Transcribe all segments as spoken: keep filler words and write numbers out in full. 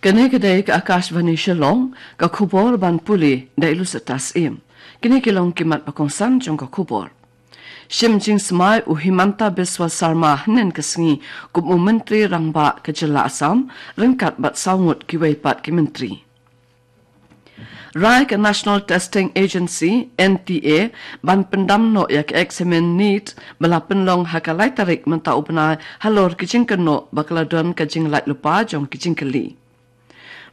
Kane ka dei ka Akashvani Shillong, ka khubor ban pule da i Lucetta Syiem. Kine ki long ki mat ba kongsan jong ka khubor. Shim jingsmai u Himanta Biswa Sarma hynnin ka sngi kum u Myntri Rangbah ka jylla Assam, ryngkat bad saw ngut kiwei pat ki myntri. Rai ka National Testing Agency, N T A, ban pyndam noh ïa ka eksamin NEET ba la pynlong ha ka lai tarik mynta u bnai halor ki jingkynnoh ba ka la don ka jinglait lypa jong ki jingkylli.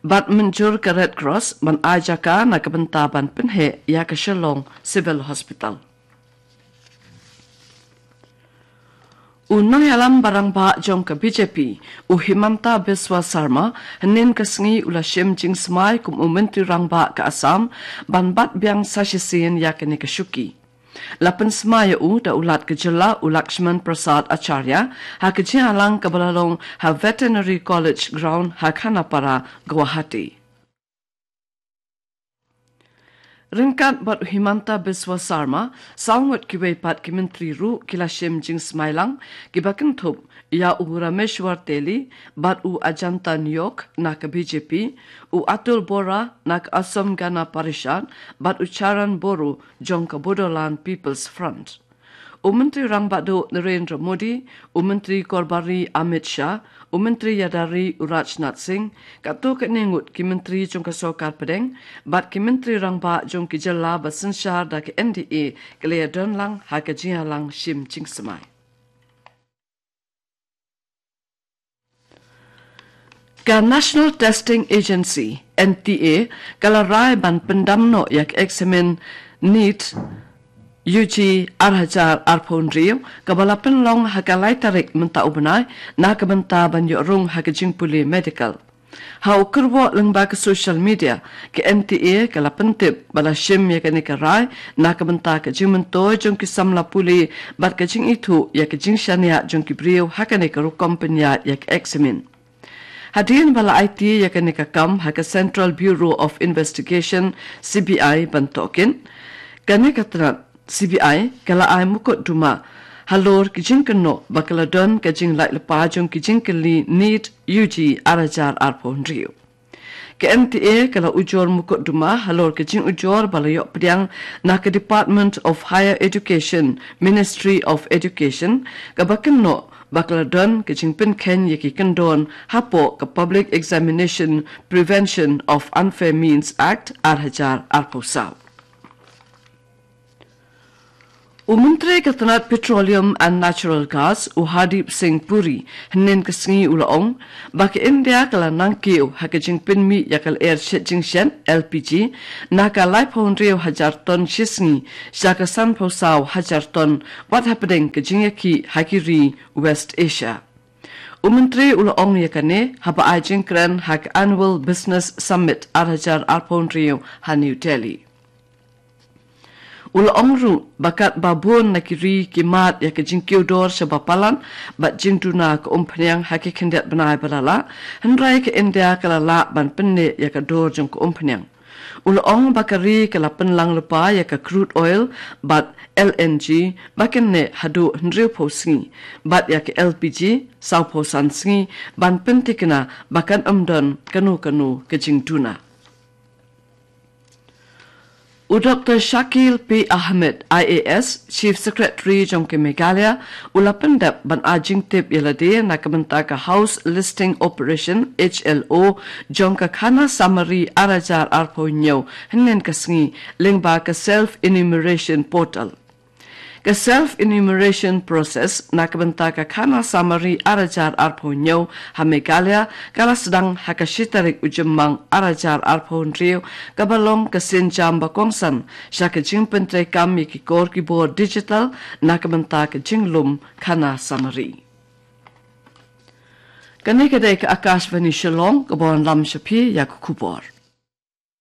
Bad mynjur ka Red Cross ban ai jaka na ka bynta ban pynheh ïa ka Shillong Civil Hospital. U nongïalam ba rangbah jong ka B J P, u Himanta Biswa Sarma, hynnin ka sngi u la shim jingsmai kum u Myntri Rangbah ka Assam, ban bat biang sa shisien ïa kane ka shuki. La pynsmai ïa u da u Lat ka jylla u Lakshman Prasad Acharya, ha ka jingïalang kaba la long ha Veterinary College Ground ha Khanapara, Guwahati. Ryngkat bad u Himanta Biswa Sarma, saw ngut kiwei pat ki myntri ruh ki la shim jingsmai lang, kiba kynthup ïa u Rameshwar Teli bad u Ajanta Niyok na ka B J P, u Atul Bora na ka Assam Gana Parishad bad u Charan Boro jong ka Bodoland People's Front. U Myntri Rangbah Duh Narendra Modi, u Myntri Korbari Amit Shah, u Myntri Ïada Ri u Rajnath Singh, katto katne ngut ki myntri jong ka sorkar pdeng bad ki myntri rangbah jong ki jylla ba synshar da ka N D A ki la ïadon lang ha ka jingïalang shim jingsmai. Ka National Testing Agency, N T A, ka la rai ban pyndam noh ïa ka eksamin NEET U G ar hajar arphew hynriew, kaba la pynlong ha ka lai tarik mynta u bnai, na ka bynta ban ïoh rung ha ka jingpule medical. Ha u kyrwoh lyngba ka social media, ka N T A ka la pyntip ba la shim ïa kane ka rai na ka bynta ka jingmyntoi jong ki samla pule bad ka jingithuh ïa ka jingshaniah jong ki briew ha kane ka rukom pynïaid ïa ka eksamin. Hadien ba la aiti ïa kane ka kam ha ka Central Bureau of Investigation, C B I, ban tohkit, kane ka tnat C B I ka la ai mukotduma halor ki jingkynnoh ba ka la don ka jinglait lypa jong ki jingkylli NEET U G ar hajar arphew hynriew. Ka N T A ka la ujor mukotduma halor ka jingujor ba la ïoh pdiang na ka Department of Higher Education, Ministry of Education, kaba kynnoh ba ka la don ka jingpynkheiñ ïa ki kyndon hapoh ka Public Examination Prevention of Unfair Means Act ar hajar arphew saw. U Myntri ka tnat Petroleum and Natural Gas, u Hardeep Singh Puri, hynnin ka sngi u la ong ba ka India ka la nangkiew ha ka jingpynmih ïa ka lyer shet jingshet, L P G, na ka laiphew hynriew hajar ton shisngi sha ka sanphew saw hajar ton, wat hapdeng ka jingïakhih ha ki ri West Asia. U Myntri u la ong ïa kane haba ai jingkren ha ka Annual Business Summit ar hajar arphew hynriew ha New Delhi. U la ong ruh ba katba bun na ki ri ki mad ïa ka jingkiew dor shaba palat bad jingduna ka umphniang ha ki khyndiat bnai ba la lah, hynrei ka India ka la lah ban pynneh ïa ka dor jong ka umphniang. U la ong ba ka ri ka la pynlang lypa ïa ka crude oil bad L N G ba kynnoh haduh hynriewphew sngi, bad ïa ka L P G sawphew san sngi, ban pynthikna ba kan ym don kano kano ka jingduna. U Doktor Shakil P Ahmed, I A S, Chief Secretary jong ka Meghalaya, u la pyndep ban ai jingtip ïa lade na ka bynta ka House Listing Operation, H L O, jong ka Khana Samari ar hajar arphew hynñiew, hynnin ka sngi, lyngba ka Self Enumeration Portal. Ka Self Enumeration Process na ka bynta ka Khana Samari ar hajar arphew hynñiew ha Meghalaya ka la sdang ha ka shi tarik u Jymmang ar hajar arphew hynriew, kaba long ka sienjam ba kongsan sha ka jingpyntreikam ïa ki kor ki bor digital na ka bynta ka jinglum Khana Samari. Kane ka dei ka Akashvani Shillong, kaba wanlam sha phi ïa ka khubor.